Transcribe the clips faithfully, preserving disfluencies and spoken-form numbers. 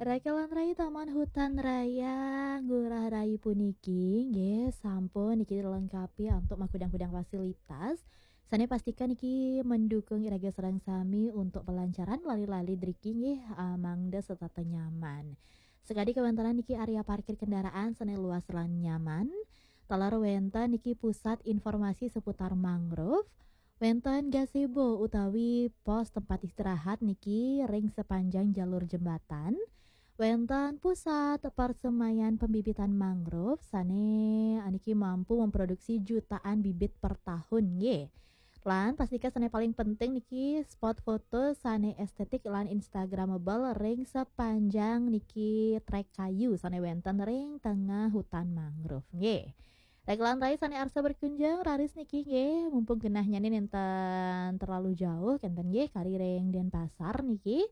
Rekelan Rai Taman Hutan Raya Ngurah Rai puniki nggih sampun niki dilengkapi antuk makudang-kudang fasilitas. Sane pastikan niki mendukung iraga sareng sami untuk pelancaran lali-lali driki nggih, ah, mangda setata nyaman. Sekadi kawentanan niki area parkir kendaraan sane luas lan nyaman. Taler wenten niki pusat informasi seputar mangrove. Wenten gazebo utawi pos tempat istirahat niki ring sepanjang jalur jembatan. Wenten pusat persemaian pembibitan mangrove sane niki mampu memproduksi jutaan bibit per tahun nggih. Lan pastika sane paling penting niki spot foto sane estetik lan instagramable ring sepanjang niki trek kayu sane wenten ring tengah hutan mangrove nggih. Rekelan Rai sane arsa berkunjung raris niki nggih, mumpung genahnyane nenten terlalu jauh kenten nggih kari ring Denpasar niki.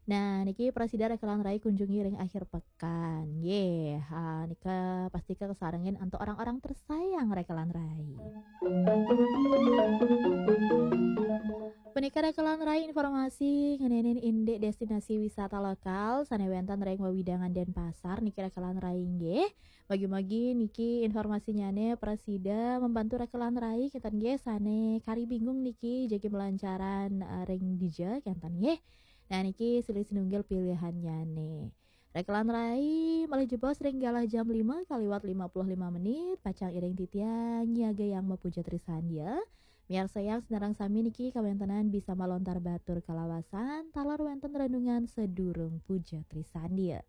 Nah, niki prasida Rekelan Rai kunjungi ring akhir pekan nggih. Ha, nika pastika kasarengin antuk orang-orang tersayang Rekelan Rai. Punika Rekelan Rai informasi ngenenin indik destinasi wisata lokal sane wenten ring wewidangan Denpasar niki Rekelan Rai nggih. Mugi-mugi niki informasinyane prasida membantu Rekelan Rai kenten nggih sane kari bingung niki jagi melancaran, eh, ring dija kenten nggih. Nah, niki silih sinunggil pilihannyane. Rekelan Rai malih jebos ring galah jam lima kaliwat lima puluh lima menit, pacang iring titiang nyiagayang mapuja trisandia. Miarsayang sinareng sami niki kawentenan bisa malontar batur kalawasan taler wenten renungan sedurung puja trisandia.